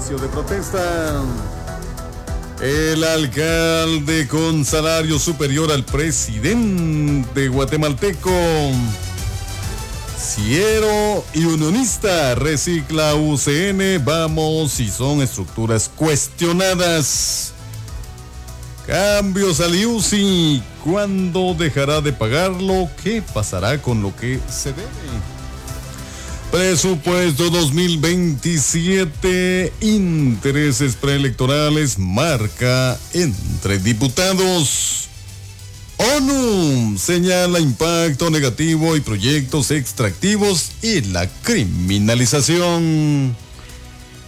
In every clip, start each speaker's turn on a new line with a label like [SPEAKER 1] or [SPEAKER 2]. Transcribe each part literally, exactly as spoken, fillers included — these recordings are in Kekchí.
[SPEAKER 1] inicio de protesta. El alcalde con salario superior al presidente guatemalteco. Siero y unionista recicla U C N, vamos y son estructuras cuestionadas. Cambios al I U C I, ¿cuándo dejará de pagarlo? ¿Qué pasará con lo que se debe? Presupuesto dos mil veintisiete, intereses preelectorales marca entre diputados. ONU señala impacto negativo y proyectos extractivos y la criminalización.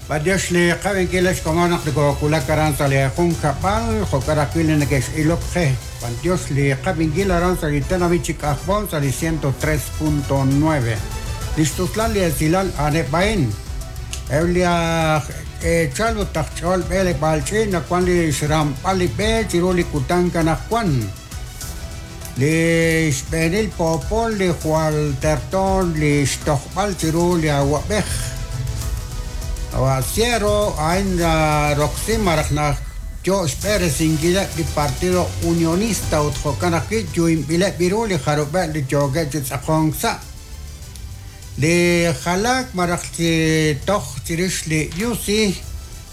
[SPEAKER 2] Badiosli qavinkilax komonaq likokula karanza le junjapal jokarakil nekex ilokje. Bandiosli qavinkila aranza litanavichik ajbon sali ciento tres punto nueve. Listuslali esilal anepain. Eulia echalo tachol bele balchi na kwan li shram pali be chiruli kutanka na kwan. Li xbenil popol li jual terton li xtojbal chiruli aguabej. Aguaciero ain roxy marajna yo Pérez inquila di Partido Unionista utjokanaki yuimbile biruli jarube li yogue chitzakongsa. Li jalak marajti toj chirish li yusi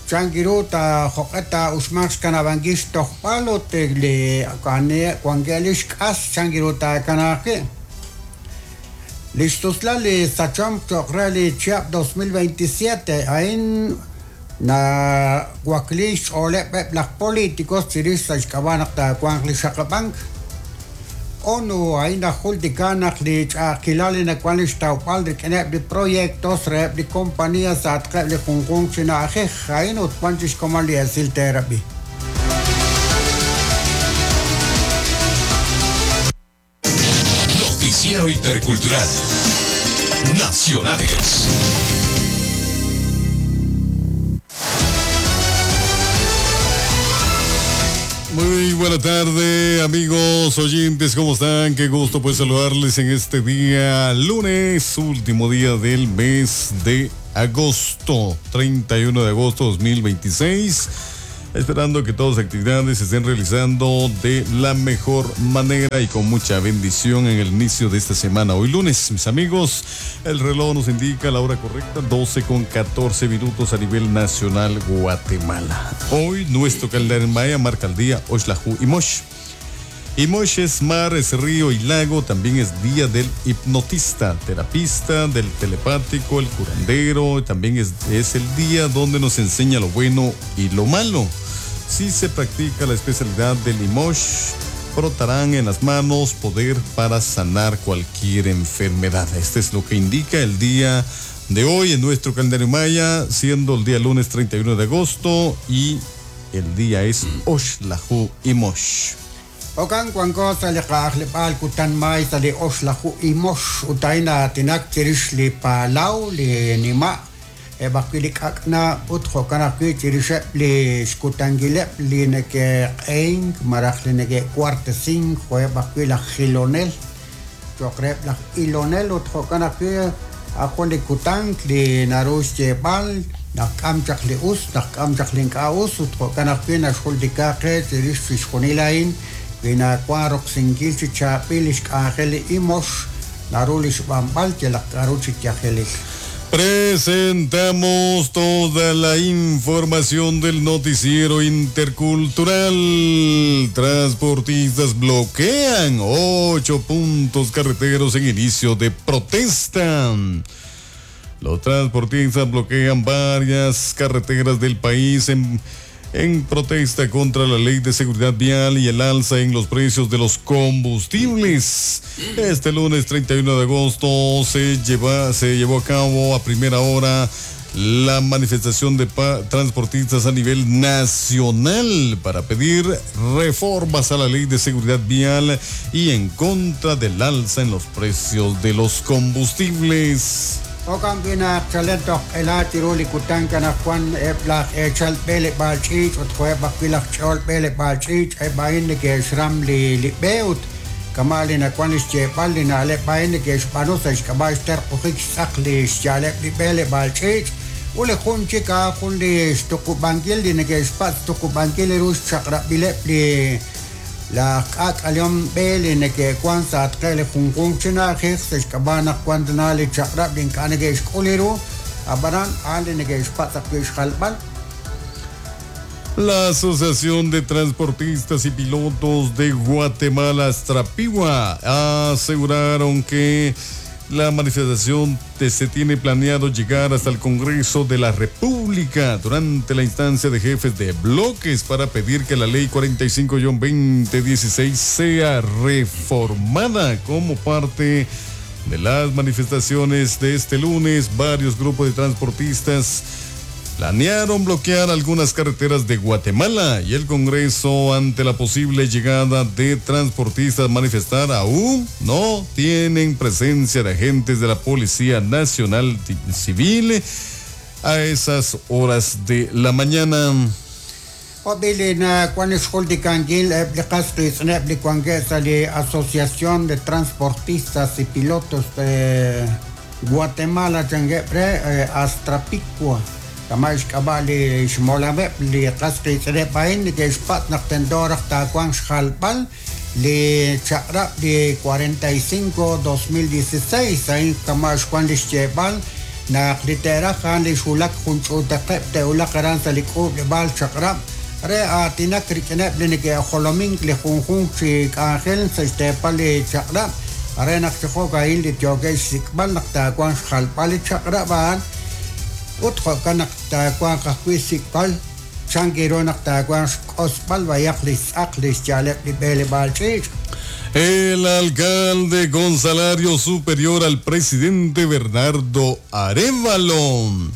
[SPEAKER 2] changiruta joketa usmax kanabanguish tojpalo te li kane kuangelish kas changiruta kanake. Listusla li sachom chokreli chiap dos mil veintisiete ain na guaklish ole pep las políticos chirish sachkabanak ta kuangli shakabank. ONU ain ajultikanak li ch'akilali na kuanlish taupal de kenep de proyectos rep de compañías atqeb li junjun chinaje ain utpanchish komali asil therapy.
[SPEAKER 3] Noticiero Intercultural Nacionales.
[SPEAKER 1] Muy buena tarde, amigos oyentes, ¿cómo están? Qué gusto pues saludarles en este día lunes, último día del mes de agosto, treinta y uno de agosto dos mil veintiséis. Esperando que todas las actividades se estén realizando de la mejor manera y con mucha bendición en el inicio de esta semana. Hoy lunes, mis amigos, el reloj nos indica la hora correcta, doce con catorce minutos a nivel nacional Guatemala. Hoy nuestro calendario maya marca el día Oxlajuj Imox. Imox es mar, es río y lago, también es día del hipnotista, terapista, del telepático, el curandero, también es, es el día donde nos enseña lo bueno y lo malo. Si se practica la especialidad del Imox, frotarán en las manos poder para sanar cualquier enfermedad. Este es lo que indica el día de hoy en nuestro calendario maya, siendo el día lunes treinta y uno de agosto y el día es Oxlajuj Imox.
[SPEAKER 2] Okan cuanco sale qajlipal kutan may sale Oxlajuj Imox utaina tinak chirish li palau li nima ebakili kakna utjo kanaki chirishe li xkutangile li neke qeink maraj li neke cuartesing jo ebakila gilonel chokrep la ilonel utjo kanaki akon li kutank li narush chepal nakam chak li us nakam chak li nkaus utjo kanaki naxuldikaqe chirish fixjonilain Vina cuarok singil chichapil ishkangel imox narulish bambal yelakaruchichajelis.
[SPEAKER 1] Presentamos toda la información del noticiero intercultural. Transportistas bloquean ocho puntos carreteros en inicio de protesta. Los transportistas bloquean varias carreteras del país en, en protesta contra la ley de seguridad vial y el alza en los precios de los combustibles. Este lunes treinta y uno de agosto se, lleva, se llevó a cabo a primera hora la manifestación de pa- transportistas a nivel nacional para pedir reformas a la ley de seguridad vial y en contra del alza en los precios de los combustibles.
[SPEAKER 2] Okan bina chalento ela tiruli kutanka na Juan ebla echal bele balchich otjue bakilach chol bele balchich e bain ke shram li li beut kamali na Juan ischepal li na le bain ke shpano sa shkabash ter qokhik saqli shale li bele balchich Ut li jun chik a'an jun li xtuqub'ankil li neke'xpatz' tuqub'ankil ru xchaq'rab'ileb' li laj k'aak'alehom b'e li neke'wan sa' atqe li junjunq chi na'ajej sa' xk'ab'a' naq wan tana li chaq'rab' li ink'a' neke'xk'ul ru ab'anan a'an li neke'xpatz' ajwi' xjalb'al.
[SPEAKER 1] La Asociación de Transportistas y Pilotos de Guatemala, Astrapigua, aseguraron que la manifestación se tiene planeado llegar hasta el Congreso de la República durante la instancia de jefes de bloques para pedir que la Ley cuarenta y cinco guion veinte dieciséis sea reformada. Como parte de las manifestaciones de este lunes, varios grupos de transportistas planearon bloquear algunas carreteras de Guatemala y el Congreso ante la posible llegada de transportistas a manifestar aún no tienen presencia de agentes de la Policía Nacional Civil a esas horas de la mañana.
[SPEAKER 2] Asociación de Transportistas y Pilotos de Guatemala, Astrapicua. Kama xk'ab'a' li xmolameb' li qas qiitz'ineb' a'in neke'xpatz' naq tento raj taawanq xjalb'al li chaq'rab' li cuarenta y cinco dos mil dieciséis a'in kama xwan li xyeeb'al naq li te'raj a'an li xwulak jun ch'uutaqeb' te'wulaq aran sa' li k'uub'leb'aal chaq'rab' re aatinak rik'ineb' li neke'jolomink li junjunq chi k'anjel sa' xteepal li chaq'rab' re naq chijo'k a'in li yookeb' xsik'b'al naq taawanq xjalb'al li chaq'rab' a'an ut jo'kan naq taawanq ajwi' sik'b'al chankiru naq taawanq xk'osb'al b'ayaq li xtz'aq li xyaaleb' li b'eleb'aal ch'iich'.
[SPEAKER 1] El alcalde con salario superior al presidente Bernardo Arévalo.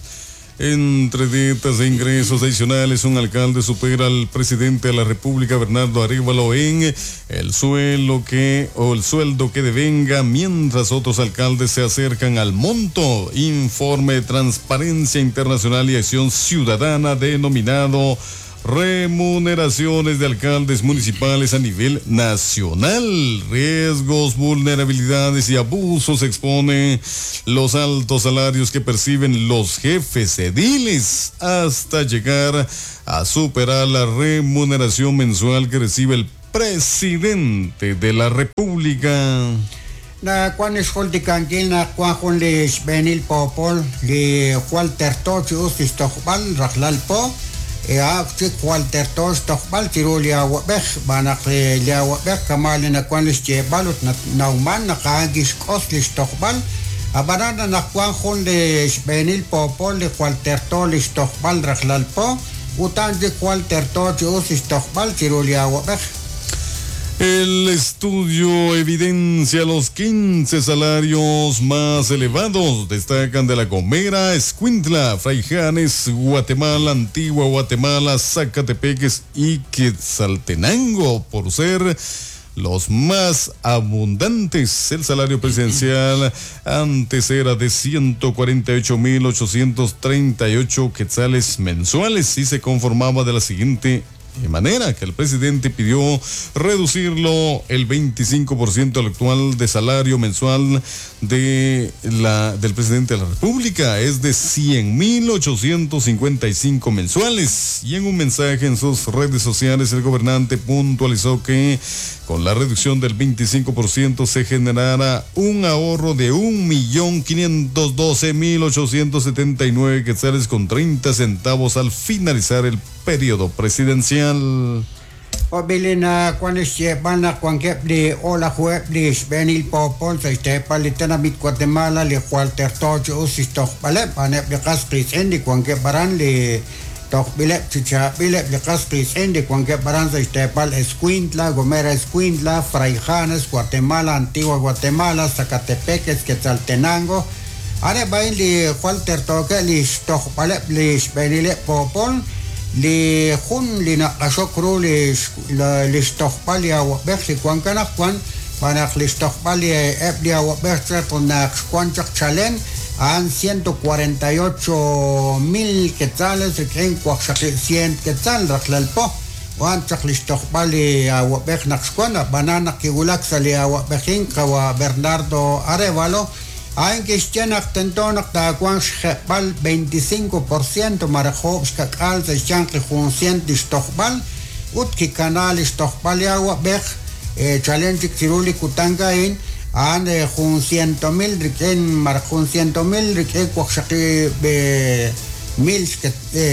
[SPEAKER 1] Entre dietas e ingresos adicionales, un alcalde supera al presidente de la República, Bernardo Arévalo, en el suelo que, o el sueldo que devenga, mientras otros alcaldes se acercan al monto. Informe de Transparencia Internacional y Acción Ciudadana denominado Remuneraciones de alcaldes municipales a nivel nacional. Riesgos, vulnerabilidades y abusos expone los altos salarios que perciben los jefes ediles hasta llegar a superar la remuneración mensual que recibe el presidente de la República.
[SPEAKER 2] Na kwan xjultikankil na kwan jun li xb'eenil poopol li jwal terto chi us lixtojb'al rajlal po ea chik jwal terto xtojb'al chiru li awab'ej b'anaq li awab'ej kama li nakwan li xyeeb'al ut nawman naq a'an kixk'os li xtojb'al ab'anan naq kwan jun li xb'eenil poopol li jwal terto li xtojb'al rajlal po ut a'an chik jwal terto chi us li xtojb'al chiru li awab'ej.
[SPEAKER 1] El estudio evidencia los quince salarios más elevados. Destacan de La Gomera, Escuintla, Fraijanes, Guatemala, Antigua Guatemala, Sacatepéquez y Quetzaltenango, por ser los más abundantes. El salario presidencial antes era de ciento cuarenta y ocho mil ochocientos treinta y ocho quetzales mensuales y se conformaba de la siguiente manera, que el presidente pidió reducirlo el veinticinco por ciento al actual de salario mensual de la, del presidente de la República, es de cien mil ochocientos cincuenta y cinco mensuales. Y en un mensaje en sus redes sociales, el gobernante puntualizó que con la reducción del veinticinco por ciento se generará un ahorro de un millón quinientos doce mil ochocientos setenta y nueve quetzales con treinta centavos al finalizar el periodo presidencial.
[SPEAKER 2] Obilina kwan xyeeb'al naq wankeb' li olajueb' li xb'eenil poopol sa' xteepal li tenamit Guatemala li jwal terto chi us xtojb'aleb' a'aneb' li qas qiitz'in li wankeb' aran li tojb'ileb' chi chaab'ileb' li qas qiitz'in li wankeb' aran sa' xteepal Escuintla, Gomera Escuintla, Fraijanes, Guatemala, Antigua Guatemala, Sacatepéquez, Quetzaltenango. A'aneb' a'in li jwal tertookeb' li xtojb'aleb' li xb'eenileb' poopol li jun li naq'axok ru li li xtojb'al li awab'ej li wan kanaq wan b'anaq li xtojb'al li eb' li awab'ej chaq naq xwan chaq chalen a'an ciento cuarenta y ocho mil quetzales rik'in waqxaqib' cien quetzal rajlal po wan chaq li xtojb'al li awab'ej naq xwan ab'anan naq kiwulak sa' li awab'ejin qawa Bernardo Arévalo A'in kixye naq tento naq taawanq xjeb'al veinticinco por ciento malaj oob' xkak'aal sa' xyanq li jun cient li xtojb'al ut kikana li xtojb'al li awab'ej chalen chik chiru li kutan a'in a'an jun ciento mil rik'in malaj jun ciento mil rik'in waqxaqib' mil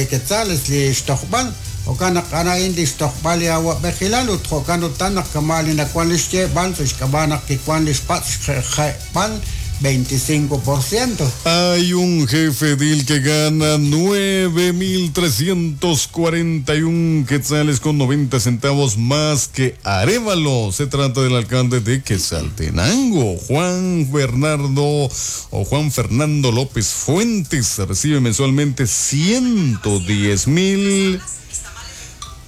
[SPEAKER 2] quetzales li xtojb'al jo'kan naq a'an a'in li xtojb'al li awab'ejilal ut jo'kan utan naq kama' li nawan li xyeeb'al sa' xk'ab'a' naq kiwan li xpatz' xjeb'al veinticinco por ciento.
[SPEAKER 1] Hay un jefe edil que gana nueve mil trescientos cuarenta y un quetzales con noventa centavos más que Arévalo. Se trata del alcalde de Quetzaltenango, Juan Bernardo o Juan Fernando López Fuentes. Recibe mensualmente ciento diez mil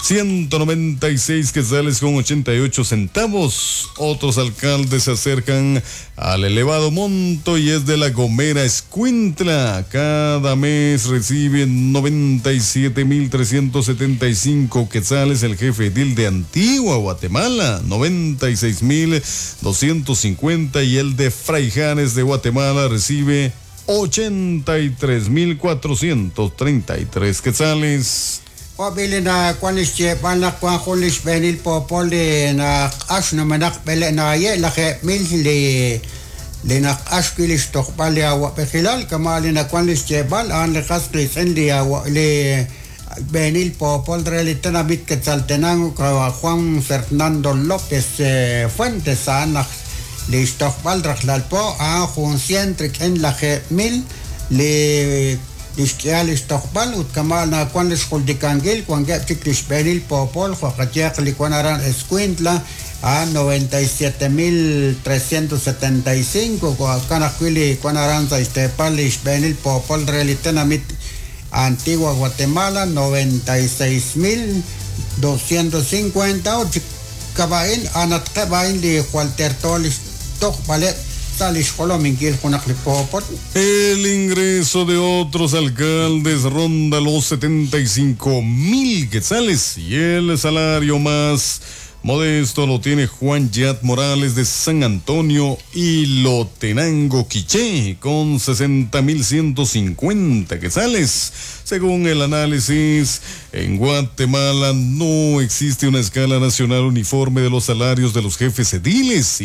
[SPEAKER 1] ciento noventa y seis quetzales con ochenta y ocho centavos. Otros alcaldes se acercan al elevado monto y es de La Gomera, Escuintla. Cada mes recibe noventa y siete mil trescientos setenta y cinco quetzales el jefe edil de Antigua, Guatemala, noventa y seis mil doscientos cincuenta, y el de Fraijanes de Guatemala recibe ochenta y tres mil cuatrocientos treinta y tres quetzales.
[SPEAKER 2] Wabili na kwan xyeeb'al naq wan jun li xb'eenil poopol li naq'ax numenaq b'ele naaye' lajeeb' mil li li naq'ax wi' li xtojb'al li awab'ejilal kama' li nawan li xyeeb'al a'an li qas qiitz'in li awa-, li b'eenil poopol re li tenamit Quetzaltenango Juan Fernando López, eh, Fuentes a'an naq li xtojb'al rajlal po a'an jun cien rik'in lajeeb' mil li lixk'ihal li xtojb'al ut kama' nawan li xjuldikankil wankeb' chik li xb'eenil poopol jo' qayehaq li wan aran Escuintla a noventa y siete mil trescientos setenta y cinco jo'kan ajwi' li wan aran sa' xteepal li xb'eenil poopol re li tenamit Antigua Guatemala noventa y seis mil doscientos cincuenta ut kab'a'in anatqeb' a'in li jwal terto li xtojb'aleb'
[SPEAKER 1] El ingreso de otros alcaldes ronda los setenta y cinco mil quetzales y el salario más modesto lo tiene Juan Yat Morales de San Antonio y Ilotenango Quiché con sesenta mil ciento cincuenta quetzales. Según el análisis, en Guatemala no existe una escala nacional uniforme de los salarios de los jefes ediles y